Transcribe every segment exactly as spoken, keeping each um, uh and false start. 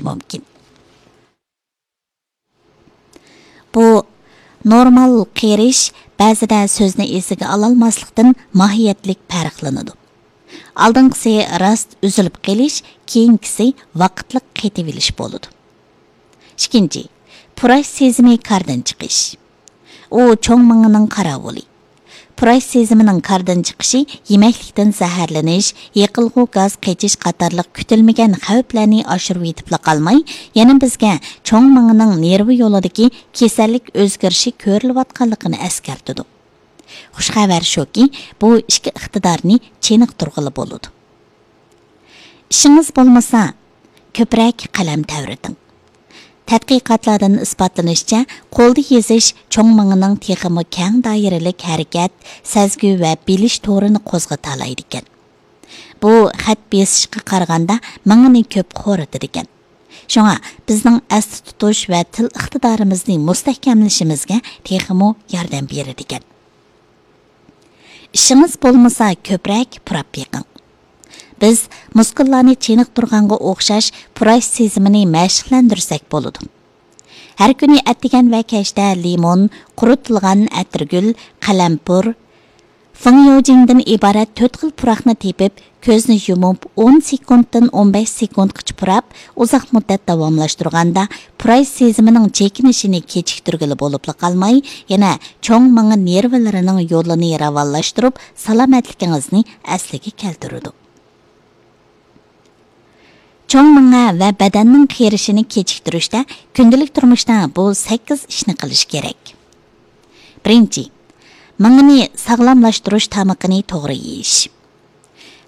مۇمكىن. بۇ نورمال قېرىش بەزىدە سۆزنى ئېسىگە ئالالماسلىقتىن ماھىيەتلىك پەرقلىنىدۇ. ئالدىنقىسى راست ئۈزۈلۈپ قېلىش، كېيىنكىسى ۋاقىتلىق قېتىۋېلىش بولىدۇ. ئىككىنچى، پۇراش سېزىمى كاردىن چىقىش. ئۇ چوڭ مېڭىنىڭ قاراۋۇلى. پۇراش سېزىمىنىڭ كاردىن چىقىشى يېمەكلىكتىن زەھەرلىنىش، يېقىلغۇ گاز قېچىش قاتارلىق كۈتۈلمىگەن خەۋپلەرنى ئاشۇرۇۋېتىپلا قالماي، يەنە بىزگە چوڭ مېڭىنىڭ نېرۋا يولىدىكى كېسەللىك ئۆزگىرىشى كۆرۈلۈۋاتقانلىقىنى ئەسكەرتىدۇ. خۇش خەۋەر شۇكى، بۇ ئىككى ئىقتىدارنى چېنىقتۇرغىلى بولىدۇ. ئىشىڭىز بولمىسا، كۆپرەك قەلەم تەۋرىتىڭ. تەتقىقاتلاردىن ئىسپاتلىنىشىچە، قولدا يېزىش چوڭ مېڭىنىڭ تېخىمۇ كەڭ دائىرىلىك ھەرىكەت، سەزگۈ ۋە بىلىش تورىنى قوزغىتالايدىكەن. بۇ خەت بېسىشقا قارىغاندا مېڭىنى كۆپ خورىتىدىكەن. شۇڭا بىزنىڭ ئەستە تۇتۇش ۋە تىل ئىقتىدارىمىزنى مۇستەھكەملىشىمىزگە تېخىمۇ ياردەم بېرىدىكەن. ئىشىڭىز بولمىسا، كۆپرەك پۇراپ بېقىڭ. بىز مۇسكۇللارنى چېنىقتۇرغانغا ئوخشاش پۇراش سېزىمىنى مەشىقلەندۈرسەك بولىدۇ. ھەر كۈنى ئەتىگەن ۋە كەچتە لىمون، قۇرۇتۇلغان ئەتىرگۈل، قەلەمپۇر، فېڭيوجىڭدىن ئىبارەت تۆت خىل پۇراقنى تېپىپ، كۆزنى يۇمۇپ، ئون سېكۇنتتىن ئون بەش سېكۇنتقىچە پۇراپ، ئۇزاق مۇددەت داۋاملاشتۇرغاندا، پۇراش سېزىمىنىڭ چېكىنىشىنى كېچىكتۈرگىلى بولۇپلا قالماي، يەنە چوڭ مېڭە نېرۋىلىرىنىڭ يولىنى راۋانلاشتۇرۇپ، سالامەتلىكىڭىزنى ئەسلىگە كەلتۈرىدۇ. چوڭ مېڭە ۋە بەدەننىڭ قېرىشىنى كېچىكتۈرۈشتە كۈندىلىك تۇرمۇشتا بۇ سەككىز ئىشنى قىلىش كېرەك. بىرىنچى، مېڭىنى ساغلاملاشتۇرۇش تامىقىنى توغرا يېيىش.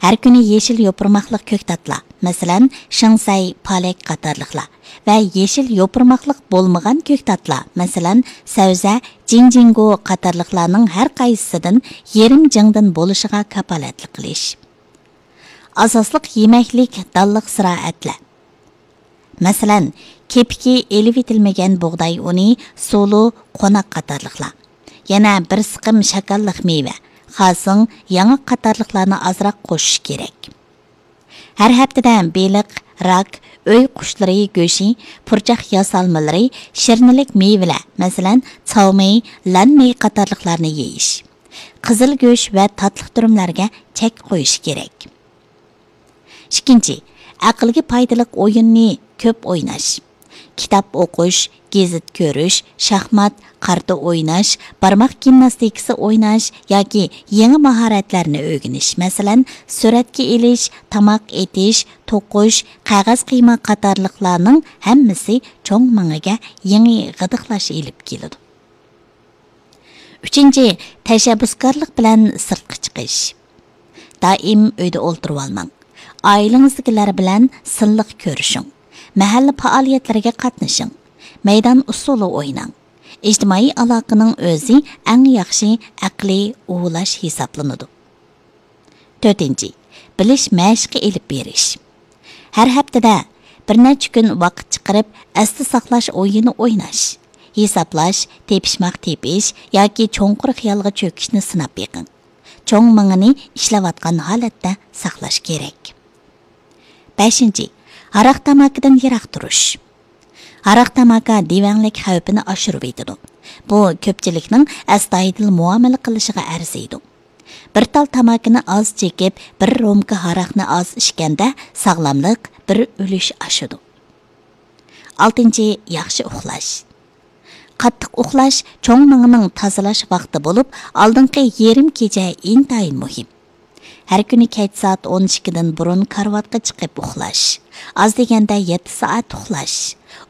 ھەر كۈنى يېشىل يوپۇرماقلىق كۆكتاتلار، مەسىلەن، شېڭسەي، پالەك قاتارلىقلار ۋە يېشىل يوپۇرماقلىق بولمىغان كۆكتاتلار، مەسىلەن، سەۋزە، جىنجىڭگو قاتارلىقلارنىڭ ھەر قايسىسىدىن يېرىم جىڭدىن بولۇشىغا كاپالەتلىك قىلىش. ئاساسلىق يېمەكلىك دانلىق زىرائەتلەر. مەسىلەن، كېپىكى ئېلىۋېتىلمىگەن بۇغداي ئۇنى، سۇلۇ، قوناق قاتارلىقلار. يەنە بىر سىقىم شاكاللىق مېۋە، خاسىڭ، ياڭاق قاتارلىقلارنى ئازراق قوشۇش كېرەك. ھەر ھەپتىدە بېلىق، راك، ئۆي قۇشلىرى گۆشى، پۇرچاق ياسالمىلىرى، شىرنىلىك مېۋىلەر، مەسىلەن، چاۋمېي، لەنمېي قاتارلىقلارنى يېيىش. قىزىل گۆش ۋە تاتلىق دۈرۈملەرگە چەك قويۇش كېرەك. ئىككىنچى، ئەقىلگە پايدىلىق ئويۇننى كۆپ ئويناش. كىتاب ئوقۇش، گېزىت كۆرۈش، شاھمات، قارتا ئويناش، بارماق گىمناستىكىسى ئويناش ياكى يېڭى ماھارەتلەرنى ئۆگىنىش، مەسىلەن، سۈرەتكە ئېلىش، تاماق ئېتىش، توقۇش، قەغەز قىيما قاتارلىقلارنىڭ ھەممىسى چوڭ مېڭىگە يېڭى غىدىقلاش ئېلىپ كېلىدۇ. ئۈچىنچى، تەشەببۇسكارلىق بىلەن سىرتقا چىقىش. دائىم ئۆيدە ئولتۇرۇۋالماڭ. ئائىلىڭىزدىكىلەر بىلەن سىنلىق كۆرۈشۈڭ. مەھەللە پائالىيەتلىرىگە قاتنىشىڭ. مەيدان ئۇسسۇلى ئويناڭ. ئىجتىمائىي ئالاقىنىڭ ئۆزى ئەڭ ياخشى ئەقلىي ئۇۋۇلاش ھېسابلىنىدۇ. تۆتىنچى، بىلىش مەشىقى ئېلىپ بېرىش. ھەر ھەپتىدە بىر نەچچە كۈن ۋاقىت چىقىرىپ، ئەستە ساقلاش ئويۇنى ئويناش، ھېسابلاش، تېپىشماق تېپىش ياكى چوڭقۇر خىيالغا چۆكۈشنى سىناپ بېقىڭ. چوڭ مېڭىنى ئىشلەۋاتقان ھالەتتە ساقلاش كېرەك. بەشىنچى، ھاراق تاماكىدىن يىراق تۇرۇش. ھاراق تاماكا دېۋەڭلىك خەۋپىنى ئاشۇرۇۋېتىدۇ. بۇ كۆپچىلىكنىڭ ئەستايىدىل مۇئامىلە قىلىشىغا ئەرزىيدۇ. بىر تال تاماكىنى ئاز چېكىپ، بىر رومكا ھاراقنى ئاز ئىچكەندە، ساغلاملىق بىر ئۈلۈش ئاشىدۇ. ئالتىنچى، ياخشى ئۇخلاش. قاتتىق ئۇخلاش چوڭ مېڭىنىڭ تازىلاش ۋاقتى بولۇپ، ئالدىنقى يېرىم كېچە ئىنتايىن مۇھىم. ھەر كۈنى كەچ سائەت ئون ئىككىدىن بۇرۇن كارىۋاتقا چىقىپ ئۇخلاش. ئاز دېگەندە يەتتە سائەت ئۇخلاش.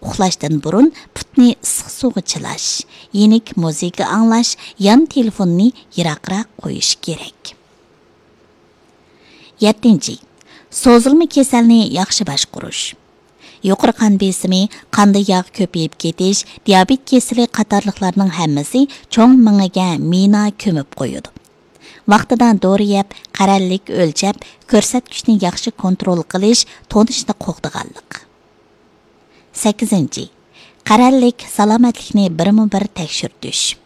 ئۇخلاشتىن بۇرۇن پۇتنى ئىسسىق سۇغا چىلاش. يېنىك مۇزىكا ئاڭلاش، يان تېلېفوننى يىراقراق قويۇش كېرەك. يەتتىنچى، سوزۇلما كېسەلنى ياخشى باشقۇرۇش. يۇقىرى قان بېسىمى، قاندا ياغ كۆپىيىپ كېتىش، دىيابېت كېسىلى قاتارلىقلارنىڭ ھەممىسى چوڭ مېڭىگە مىنا كۆمۈپ قويىدۇ. ۋاقتىدا دورا يەپ، قەرەللىك ئۆلچەپ، كۆرسەتكۈچنى ياخشى كونترول قىلىش تونۇشنى قوغدىغانلىق. سەككىزىنچى، قەرەللىك سالامەتلىكنى بىرمۇ بىر تەكشۈرتۈش.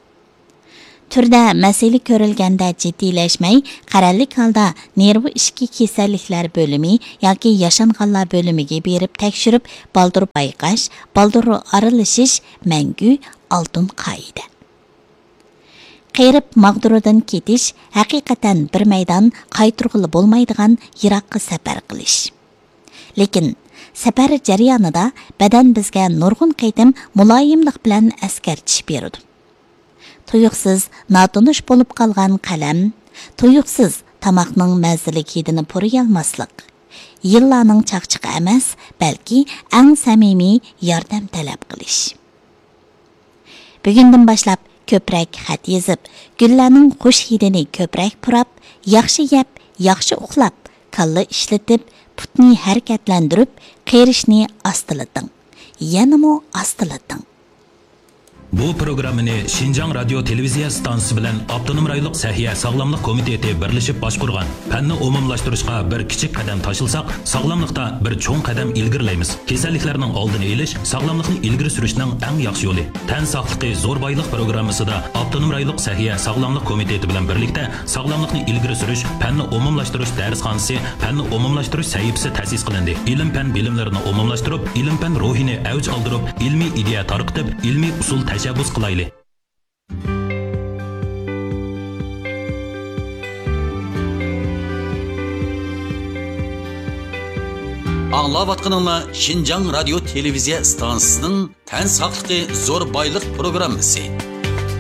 تۈردە مەسىلە كۆرۈلگەندە جىددىيلەشمەي، قەرەللىك ھالدا نېرۋا ئىچكى كېسەللىكلەر بۆلۈمى ياكى ياشانغانلار بۆلۈمىگە بېرىپ تەكشۈرۈپ، بالدۇر بايقاش، بالدۇر ئارىلىشىش مەڭگۈ ئالتۇن قائىدە. قېرىپ ماغدۇرىدىن كېتىش ھەقىقەتەن بىر مەيدان قايتۇرغىلى بولمايدىغان يىراققا سەپەر قىلىش. لېكىن سەپەر جەريانىدا بەدەن بىزگە نۇرغۇن قېتىم مۇلايىملىق بىلەن ئەسكەرتىش بېرىدۇ. تۇيۇقسىز ناتونۇش بولۇپ قالغان قەلەم، تۇيۇقسىز تاماقنىڭ مەززىلىك ھىدىنى پۇرىيالماسلىق، يىللارنىڭ چاقچىقى ئەمەس، بەلكى ئەڭ سەمىمىي ياردەم تەلەپ قىلىش. بۈگۈندىن باشلاپ كۆپرەك خەت يېزىپ، گۈللەرنىڭ خۇش ھىدىنى كۆپرەك پۇراپ، ياخشى يەپ، ياخشى ئۇخلاپ، كاللا ئىشلىتىپ، پۇتنى ھەرىكەتلەندۈرۈپ، قېرىشنى ئاستىلىتىڭ. يەنىمۇ ئاستىلىتىڭ. بۇ پروگراممىنى شىنجاڭ رادىيو تېلېۋىزىيە ئىستانسىسى بىلەن ئاپتونوم رايونلۇق سەھىيە ساغلاملىق كومىتېتى بىرلىشىپ باشقۇرغان. پەننى ئومۇملاشتۇرۇشقا بىر كىچىك قەدەم تاشلىساق، ساغلاملىقتا بىر چوڭ قەدەم ئىلگىرىلەيمىز. كېسەللىكلەرنىڭ ئالدىنى ئېلىش، ساغلاملىقنى ئىلگىرى سۈرۈشنىڭ ئەڭ ياخشى يولى. تەن ساقلىقى زور بايلىق پروگراممىسىدا ئاپتونوم رايونلۇق سەھىيە ساغلاملىق كومىتېتى بىلەن بىرلىكتە ساغلاملىقنى ئىلگىرى سۈرۈش، پەننى ئومۇملاشتۇرۇش دەرسخانىسى، پەننى ئومۇملاشتۇرۇش سەھىپىسى تەسىس قىلىندى. ئىلىم-پەن بىلىملىرىنى ئومۇملاشتۇرۇپ، ئىلىم-پەن روھىنى ئەۋج ئالدۇرۇپ، ئىلمىي ئىدىيە تارقىتىپ، ئىلمىي ئۇسۇل تەشەببۇس قىلايلى. ئاڭلاۋاتقىنىڭلار شىنجاڭ رادىيو تېلېۋىزىيە ئىستانسىسىنىڭ تەن ساقلىقى زور بايلىق پروگراممىسى.